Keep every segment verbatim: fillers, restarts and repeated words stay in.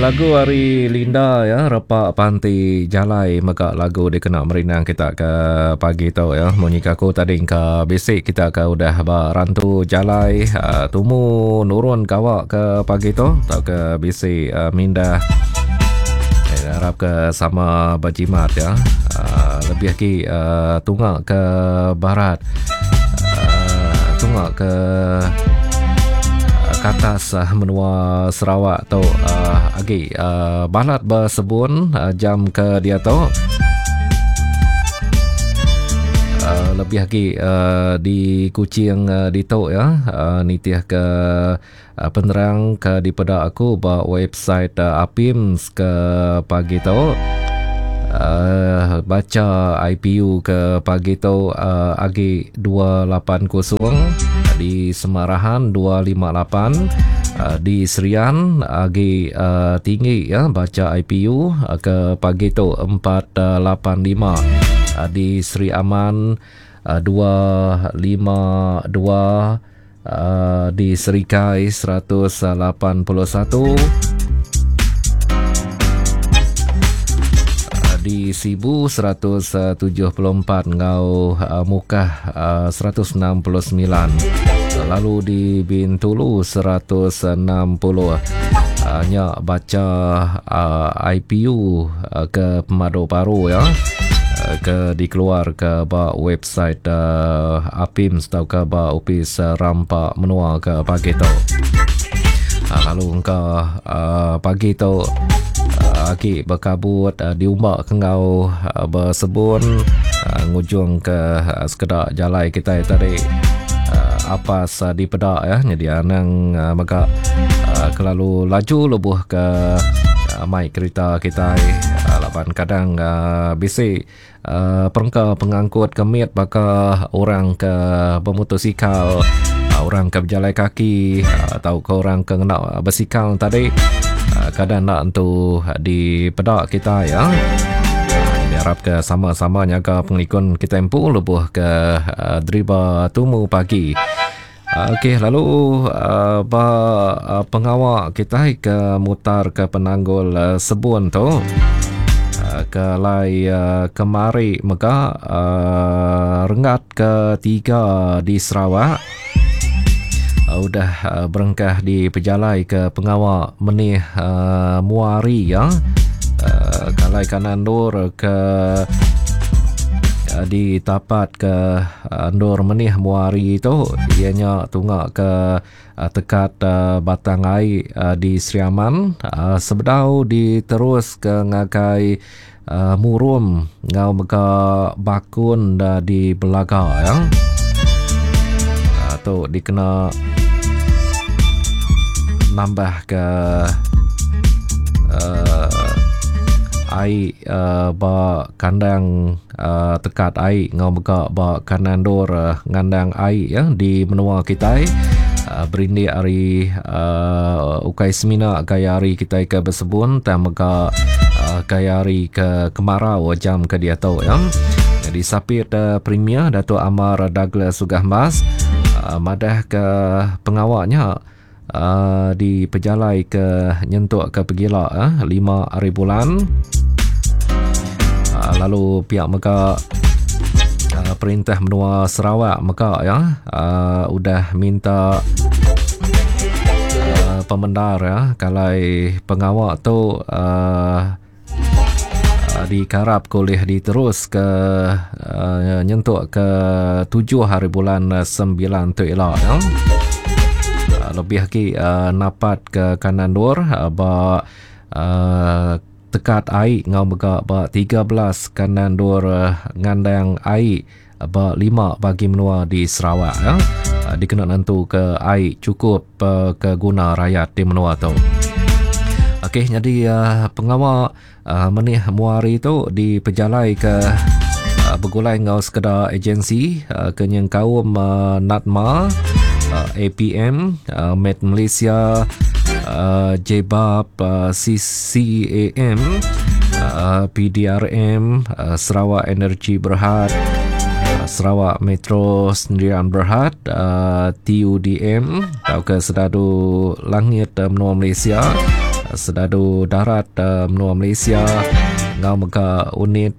Lagu ari Linda ya, Repa Panti Jalai mega lagu dikena merindang kita ke pagi tu ya. Munyi ke aku tadi engka bisi kita ke udah ba rantu jalai uh, tumu nurun gawa ke pagi tu tauka bisi uh, mindah. Eh, harap ke sama berjimat ya. Uh, lebih lagi uh, tunga ke barat, uh, tunga ke ke atas uh, menua Sarawak tu uh, agi uh, balat bersebun uh, jam ke dia tu. Uh, lebih lagi uh, di Kuching uh, ditu ya, uh, nitih ke uh, penerang ke dipeda aku ba website uh, A P I M S ke pagi tu. Uh, baca I P U ke pagi tu uh, agi dua lapan kosong, di Semarahan dua lima lapan, uh, di Serian agi uh, tinggi ya baca I P U uh, ke pagi tu empat lapan lima, uh, di Sri Aman uh, dua lima dua, uh, di Serikai seratus lapan puluh satu, di Sibu seratus tujuh puluh empat ngau uh, Mukah uh, seratus enam puluh semilan, lalu di Bintulu seratus enam puluh. uh, nya baca uh, I P U uh, ke pemadu baru ya, uh, ke dikeluar ke ba website uh, A P I M S atau ke ba Opis uh, Rampa Menua ke pagi tu. Uh, lalu engka uh, pagi tu uh, agi berkabut, uh, diumbak ke ngau uh, bersebun, uh, ngujung ke uh, sekedak jalai kita tadi uh, apas uh, dipedak ya. Jadi anang uh, mega uh, kelalu laju lebuh ke uh, mai kereta kita, uh, laban kadang uh, bisi uh, perengka pengangkut kemit baka orang ke bermotosikal, uh, orang ke berjalan kaki, uh, atau ke orang ke ngena basikal tadi, uh, kadang nak entu di pedak kita ya. Uh, harap ke sama-sama nyaga pengelikun kita empu lebuh ke uh, driba tumu pagi. Okey, lalu uh, ba uh, pengawal kita ke mutar ke penanggul uh, sebun tu. Uh, ke lai uh, kemari mega uh, renggat ketiga di Sarawak uh, udah uh, berengkah di pejalai ke pengawal menih uh, muari ya. Uh, kalai kanan dur ke uh, di tapat ke uh, ndur menih muari tu ianya tunga ke uh, tekat uh, Batang Ai uh, di Sri Aman, uh, sebedau diterus ke ngagai uh, Murum ngau mega Bakun uh, di Belaga ya. Uh, tu dikena nambah ke uh, ai uh, ba kandang uh, tekat ai ngau mega ba kanan dur uh, ngandang ai ya di menua kita, uh, berindik hari uh, ukai semina gaya hari kita ke bersebun dan mega uh, gaya hari ke kemarau jam ke dia tu ya. Jadi sapit uh, Premier Datuk Amar Douglas Uggah Embas uh, madah ke pengawalnya uh, di pejalai ke nyentuk ke pegila uh, lima hari bulan. Uh, lalu pihak mega uh, perintah menua Sarawak mega ya uh, udah minta uh, pemendar ya kalau pengawal tu uh, dikarap boleh diterus ke uh, nyentuk ke tujuh hari bulan sembilan tu elok ya. Uh, lebih lagi uh, napat ke kanan dur uh, ba uh, tekat ai ngau mega ba tiga belas kanan dur uh, ngandang ai ba lima bagi menua di Sarawak ya. Uh, dikena nentu ke ai cukup uh, ke guna rakyat di menua tu. Okey, jadi uh, pengawal uh, menih muari tu dipejalai ke uh, bergulai ngau sekedar agensi uh, ke nyengkaum uh, NADMA, uh, A P M, uh, Met Malaysia, uh, J B A P, uh, C C A M, uh, P D R M, uh, Sarawak Energy Berhad, uh, Sarawak Metro Sendirian Berhad, uh, T U D M, atau ke Sedadu Langit uh, Menua Malaysia, Sedadu Darat Menua Malaysia enggau mega Unit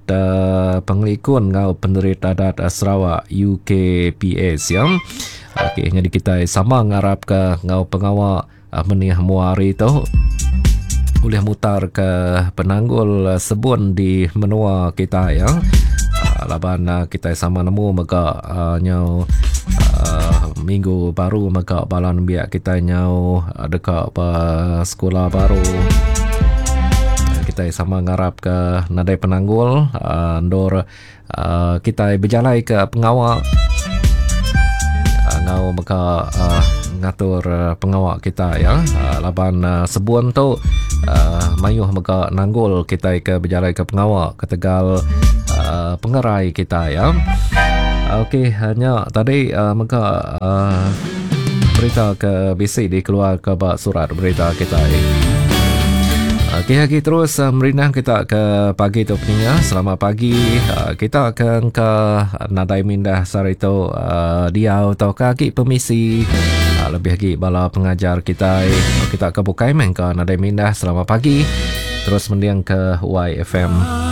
Pengelikun enggau Penerit Adat Sarawak U K P S ya. Okey, nyadi kitai sama ngarapka enggau pengawa menih mua hari tu ulih mutar ke penanggul sebun di menua kita ya. Laban kitai sama nemu mega nyau minggu baru mega bala nembiak kitai nyau deka ba sekula baru. Kitai sama ngarap ke nadai penanggul endur kitai bejalai ke pengawa ngau mega ngatur pengawa kita ya. Laban sebun tu mayuh mega nanggul kitai ke bejalai ke pengawa ketegal pengerai kita ya. Okey, nya tadi mega berita ke bisi dikeluar ke ba surat berita kita. Okey, lagi terus merindang kita ke pagi tu peninga. Selamat pagi kita ke engka nadai mindah sehari tu diau atau ke agi permisi. Lebih lagi bala pengajar kita, kita ke bukai meh engka nadai mindah. Selamat pagi. Terus mending ke Y F M.